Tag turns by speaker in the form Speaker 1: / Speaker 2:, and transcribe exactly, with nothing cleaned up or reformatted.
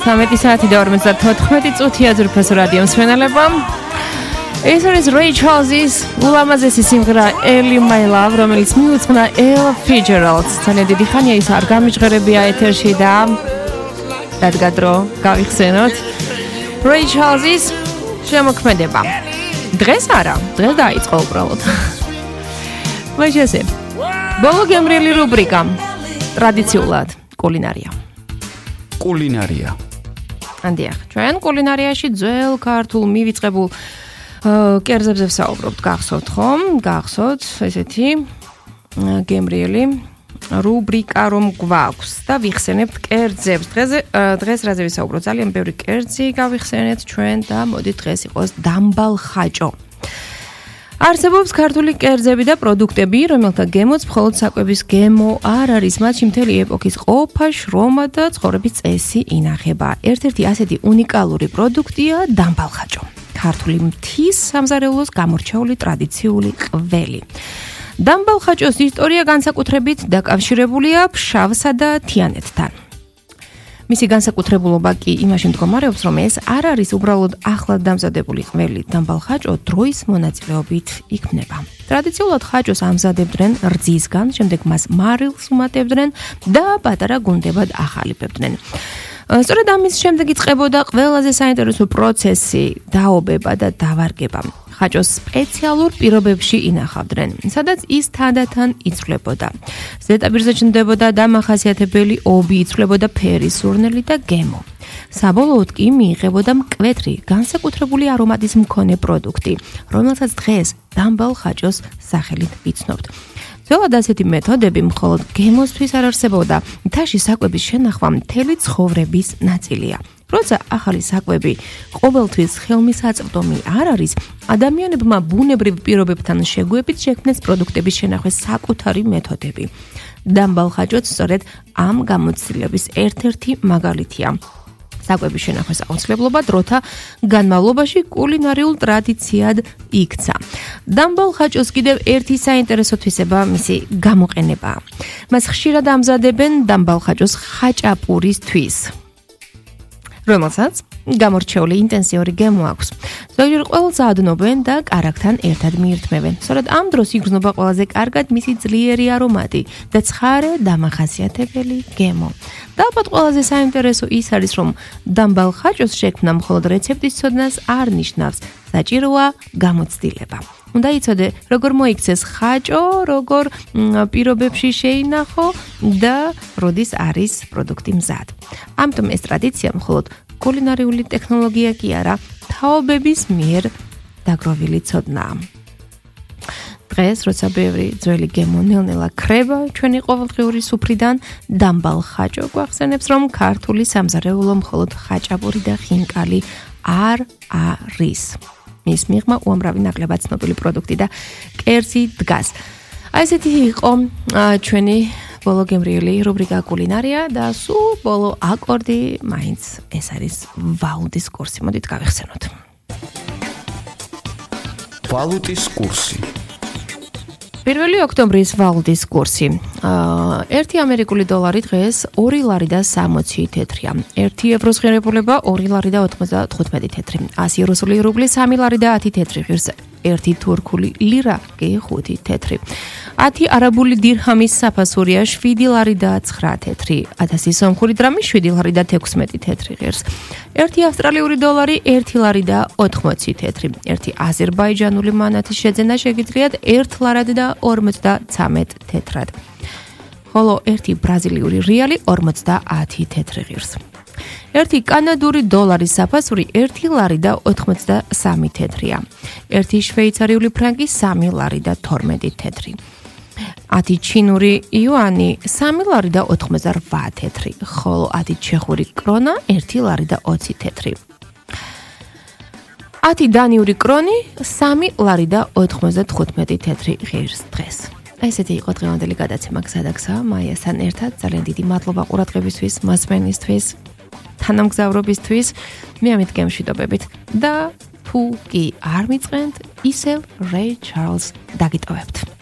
Speaker 1: ცამეტი საათი და ორმოცდათოთხმეტი წუთია ძვირფასო რადიო მსმენელებო. ეს არის Ray Charles-ის ულამაზესი სიმღერა Early My Love, რომელიც მიუძღვნა Ella Fitzgerald. ძალიან დიდი ხანია ის არ გამიჟღერებია ეთერში და რადგან დრო გავიხსენოთ Ray Charles-ის შემოქმედება. დღეს არა, დღეს დაიწყო უბრალოდ. მაშინ ბოლო გემრიელი რუბრიკა ტრადიციულად კულინარია.
Speaker 2: კულინარია.
Speaker 1: ანდიახ, ჩვენ კულინარიაში ძველ ქართულ მივიწყებულ კერძებზე ვსაუბრობთ, გახსოვთ ხომ? გახსოვთ ესეთი გემრიელი რუბრიკა რომ გვაქვს და ვიხსენებთ კერძებს. დღეს დღეს რაზე ვისაუბროთ? ძალიან ბევრი კერძი გავიხსენეთ ჩვენ და მოდი დღეს იყოს დამბალ ხაჭო. არსებობს ქართული კერძები და პროდუქტები, რომელთა გემოც მხოლოდ საკვების გემო არ არის, მათში მთელი ეპოქის ყოფა, შრომა და ცხოვრების წესი ინახება. ერთ-ერთი ასეთი უნიკალური პროდუქტია დამბალ ხაჭო. ქართული მთის სამზარეულოს გამორჩეული ტრადიციული ყველი. დამბალ ხაჭოს ისტორია განსაკუთრებით დაკავშირებულია ფშავსა და თიანეთთან. მისი განსაკუთრებულობა კი იმაში მდგომარეობს, რომ ეს არ არის უბრალოდ ახლად დამზადებული ყველი. დამბალ ხაჭო დროის მონაწილეობით იქმნება. ტრადიციულად ხაჭოს ამზადებდნენ რძისგან, შემდეგ მას მარილს უმატებდნენ და პატარა გუნდებად ახალიფებდნენ. სწორედ ამის შემდეგ იწყებოდა ყველაზე საინტერესო პროცესი, დაობება და დავარგება. ხაჭოს სპეციალურ პირობებში ინახავდნენ, სადაც ის თანდათან იცვლებოდა. ზედაპირზე ჩნდებოდა დამახასიათებელი ობი, იცვლებოდა ფერი, სურნელი და გემო. საბოლოოდ კი მიიღებოდა მკვეთრი, განსაკუთრებული არომატის მქონე პროდუქტი, რომელსაც დღეს დამბალ ხაჭოს სახელით ვიცნობთ. ძველად ასეთი მეთოდები მხოლოდ გემოსთვის არ არსებობდა, მთაში საკვების შენახვა მთელი ცხოვრების ნაწილია. როცა ახალი საკვები ყოველთვის ხელმისაწვდომი არ არის, ადამიანებმა ბუნებრივ პირობებთან შეგვებით შექმნეს პროდუქტების შენახვის საკუთარი მეთოდები. დამბალ ხაჭოც სწორედ ამ გამოცდილების ერთ-ერთი მაგალითია. საკვების შენახვის აუცილებლობა დროთა განმავლობაში კულინარიულ ტრადიციად იქცა. დამბალ ხაჭოს კიდევ ერთი საინტერესო თვისება მისი გამოყენებაა. მას ხშირად ამზადებენ დამბალ ხაჭოს ხაჭაპურისთვის, რომელსაც გამორჩეული ინტენსიური გემო აქვს. ზოგჯერ ყველს ადნობენ და კარაქთან ერთად მიირთმევენ. სწორედ ამ დროს იგრძნობა ყველაზე კარგად მისი ძლიერი არომატი და ცხარე დამახასიათებელი გემო. და ალბათ ყველაზე საინტერესო ის არის, რომ დამბალ ხაჭოს შექმნა მხოლოდ რეცეპტის ცოდნას არ ნიშნავს, საჭიროა გამოცდილება. უნდა იცოდე, როგორ მოიქცეს ხაჭო, როგორ პირობებში შეინახო და როდის არის პროდუქტი მზად. ამიტომ ეს ტრადიცია მხოლოდ კულინარიული ტექნოლოგია კი არა, თაობების მიერ დაგროვილი ცოდნაა. დღეს, როცა ბევრი ძველი გემო ნელ-ნელა ქრება ჩვენი ყოველდღიური სუფრიდან, დამბალ ხაჭო გვახსენებს, რომ ქართული სამზარეულო მხოლოდ ხაჭაპური და ხინკალი არ არის. მის მიღმა უამრავი ნაკლებად ცნობილი პროდუქტი და კერძი დგას. აი ესეთი იყო ჩვენი ბოლო გემრიელი რუბრიკა კულინარია და სულ ბოლო აკორდი მაინც ეს არის ვალუტის კურსი. მოდით გავიხსენოთ.
Speaker 2: ვალუტის კურსი.
Speaker 1: პირველი ოქტომბრის ვალუტის კურსი. ერთი ამერიკული დოლარი დღეს ორი ლარი და სამოცი თეთრია. ერთი ევროს ღირებულება ორი ლარი და ოთხმოცდათხუთმეტი თეთრი. ასი რუსული რუბლი სამი ლარი და ათი თეთრი ღირს. ერთი თურქული ლირა კი ხუთი თეთრი. ათი არაბული დირჰამის საფასურია შვიდი ლარი და ცხრა თეთრი. ათასი სომხური დრამი შვიდი ლარი და თექვსმეტი თეთრი ღირს. ერთი ავსტრალიური დოლარი ერთი ლარი და ოთხმოცი თეთრი. ერთი აზერბაიჯანული მანათის შეძენა შეგიძლიათ ერთი ლარად და ორმოცდაცამეტ თეთრად. ხოლო ერთი ბრაზილიური რეალი ორმოცდაათი თეთრი ღირს. ერთი კანადური დოლარის საფასური ერთი ლარი და ოთხმოცდასამი თეთრია. ერთი შვეიცარიული ფრანკი სამი ლარი და თორმეტი თეთრი. ათი ჩინური იუანი სამი ლარი და ოთხმოცდარვა თეთრი. ხოლო ათი ჩეხური კრონა ერთი ლარი და ოცი თეთრი. ათი დანიური კრონი სამი ლარი და ოთხმოცდათხუთმეტი თეთრი ღირს დღეს. ესეთი იყო დღევანდელი გადაცემა გზადაგზა მაიასთან ერთად. ძალიან დიდი მადლობა ყურადღებისთვის, მასმენისთვის, თანამგზავრობისთვის. მე ამით გემშვიდობებით და თუ კი არ მიწყენთ, ისევ Ray Charles დაგიტოვებთ.